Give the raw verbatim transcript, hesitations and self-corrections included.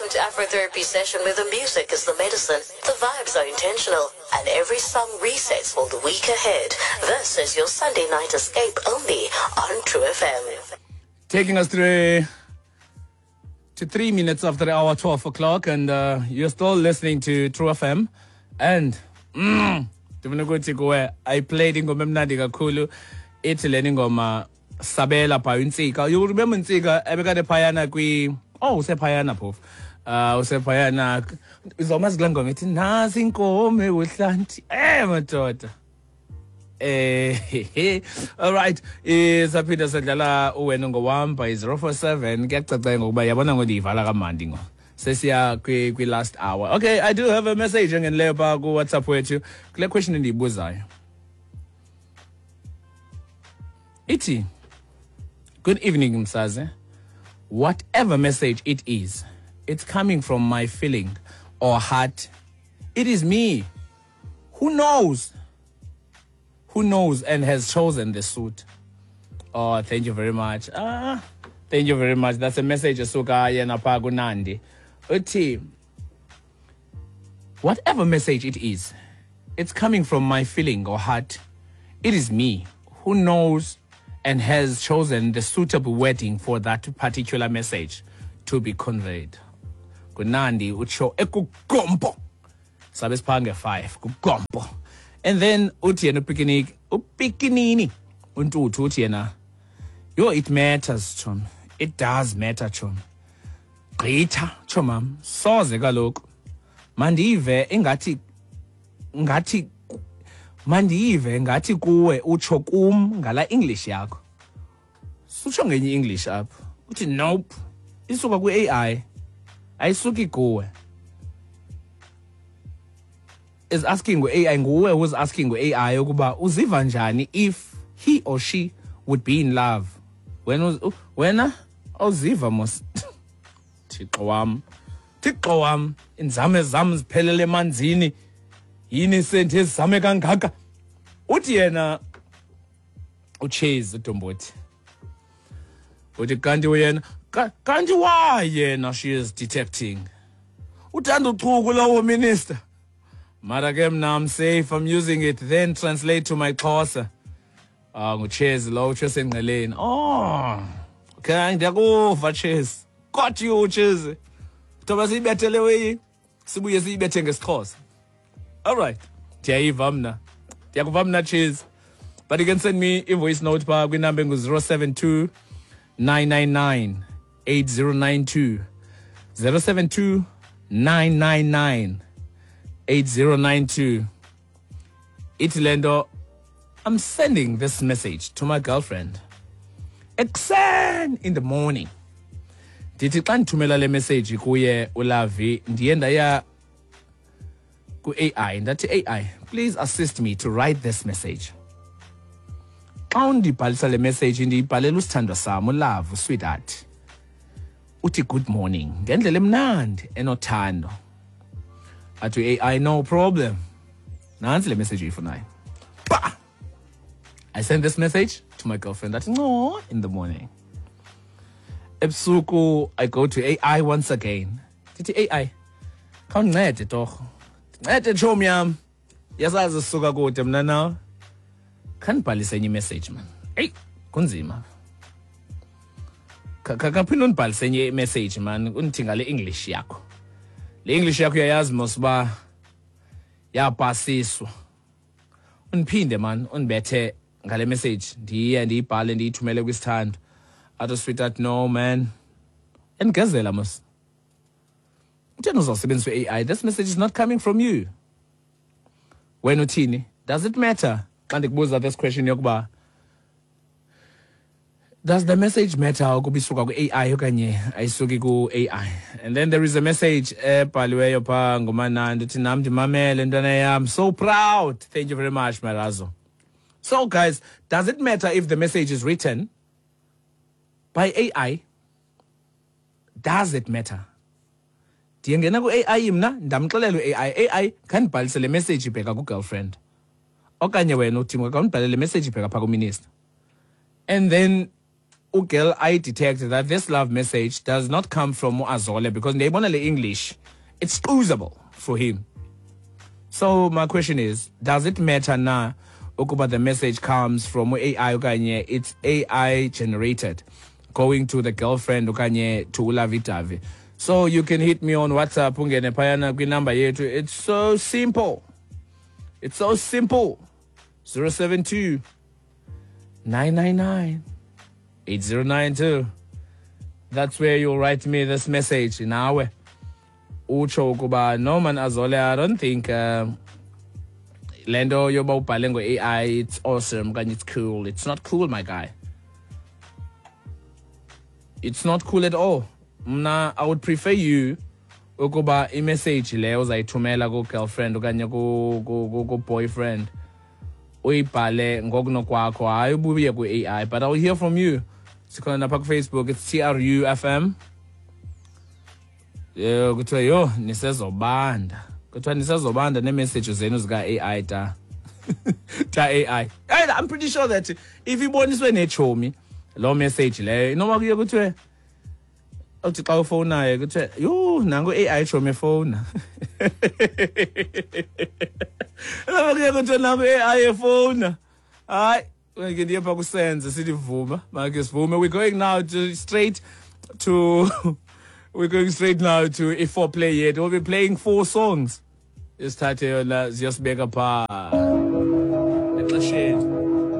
Welcome to Afrotherapy Session, where the music is the medicine, the vibes are intentional, and every song resets for the week ahead. This is your Sunday night escape only on True F M. Taking us through to three minutes after the hour, twelve o'clock, and uh, you're still listening to True F M. And mm, I played ingoma emnandi kakhulu, ithi lena ingoma Sabela by Ntsika. You remember Ntsika ebekade phayana kwi oh usephayana phofu. Uh usephayana uzomazi kule ngoma ithi nasi inkomo ebuhlanti. Eh madoda. Eh all right, isaphinda sadlala uwena ngowam by zero four seven. Kuyacaca ngokuba yabona ngondiyivala kamandi ngo. Sesiya kwi kwi last hour. Okay, I do have a message engenileyo pha ku WhatsApp wethu. Kule question endiyibuzayo. Ithi, good evening Msaze. Whatever message it is, it's coming from my feeling or heart. It is me who knows, who knows and has chosen the suit. Oh, thank you very much. Ah, thank you very much. That's a message esuka yena pha kuNandi. Uthi, whatever message it is, it's coming from my feeling or heart. It is me who knows and has chosen the suitable wording for that particular message to be conveyed. Kunandi utsho ekugompo. Sabe siphange five kugompo. And then uthi yena upikiniki, upikinini uNtuthu uthi yena, yo, it matters chom. It does matter chom. Gqitha chomam, soze kaloku. Mandive ingathi ngathi mandive ngathi kuwe utsho kum ngala English yakho. Sutsho ngenye English apho. Uthi nope. Isuka ku A I. Ayisuki kuwe. Is asking ku A I, nguwe who's asking ku A I ukuba uziva njani if he or she would be in love. When wena awuziva mos. Thixo wam. Thixo wam, inzame zam ziphelele emanzini. Yini senthe ezame kangaka? Uthi yena uChase uDombothi. Uthi kanti uyena kanti why yena she is detecting. Uthanda uchuku lowo minister. Mara ke mna I'm safe, I'm using it, then translate to my Xhosa. Ah, nguChase lo uChase engqeleni. Oh, okay, ndiyakuva Chase. Got you Chase. Thoba siyibethele weyi. Sibuye siyibethe ngesiXhosa. All right. Ndiyayiva mna. Ndiyakuva mna Chase. But you can send me a voice note pha kwinamba engu zero seven two nine nine nine eight zero nine two. zero seven two nine nine nine eight zero nine two. Ithi lento, I'm sending this message to my girlfriend ekuseni in the morning. Ndithi xa ndithumela le message kuye uLavi, ndiye ndaya ku A I ndathi, A I, please assist me to write this message. Xa undibhalisa le message ndiyibhalela usithandwa sam uLove, sweetheart. Uthi good morning ngendlela emnandi enothando. Athi A I, no problem. Nantsi le message uyifunayo. Bah! I send this message to my girlfriend at no in the morning. Ebusuku I go to A I once again. Ndithi A I, khawundincede torho. Ndincede tshomi yam. Yasazi sisuka kude mna nawe. Khandibhalise enye message man. Eyi, kunzima. Khaphinde undibhalise enye message man, undithi ngale English yakho. Le English yakho uyayazi mos uba yapasiswa. Undiphinde man, undibethe ngale message. Ndiye ndiyibhale ndiyithumele kwisithando. Athi sweetheart, no man. Engezela mos. Utheni uzawusebenzisa i-A I? This message is not coming from you. Wena uthini? Does it matter? Xa ndikubuza this question yokuba does the message matter ukuba isuka ku-A I okanye ayisuki ku-A I? And then there is a message ebhaliweyo phaa nguManandi, uthi nam ndimamele ntwana yam. So proud. Thank you very much, Marazo. So guys, does it matter if the message is written by A I? Does it matter? Ndiyengena ku-A I mna, ndamxelela u-A I, A I khandibhalise le message ibheka ku-girlfriend. Okanye wena uthi khawundibhalele le message ibheka phaa kuminister. And then ugirl I detect that this love message does not come from Azole because ndiyayibona le English, it's usable for him. So my question is, does it matter na ukuba the message comes from A I okanye it's A I generated, going to the girlfriend okanye to ulovey-dovey? So you can hit me on WhatsApp, ungene phayana kwinumber yethu. It's so simple, it's so simple: zero seven two, nine nine nine, eight zero nine two. That's where you'll write me this message nawe, utsho ukuba, "No man, Azole, I don't think um, le nto yoba ubhale ngo-A I, it's awesome okanye it's cool. It's not cool, my guy. It's not cool at all. Mna, I would prefer you ukuba imessage le uzayithumela ku-girlfriend okanye ku-boyfriend uyibhale ngokunokwakho, hayi ubuye ku-A I." But I'll hear from you. Sikhona napha kuFacebook, it's T R U F M. Yho, kuthiwa yho, nisezobanda. Kuthiwa nisezobanda neemessage zenu zika-A I, ta ta A I. Hey, I'm pretty sure that if iboniswe netshomi loo message leyo, inoba kuye kuthiwe, uthi xa ufowunayo kuthiwe, "Yho, nanku A I tshomi efowuna." Inoba kuye kuthiwe, "Nanku A I efowuna." Hayi, ke ndiye phaa kusenze sithi vuma, make sivume. We're going now to straight to we're going straight now to i-foreplay yethu. We'll be playing four songs. Isithathe yona ziyosibeka phaa.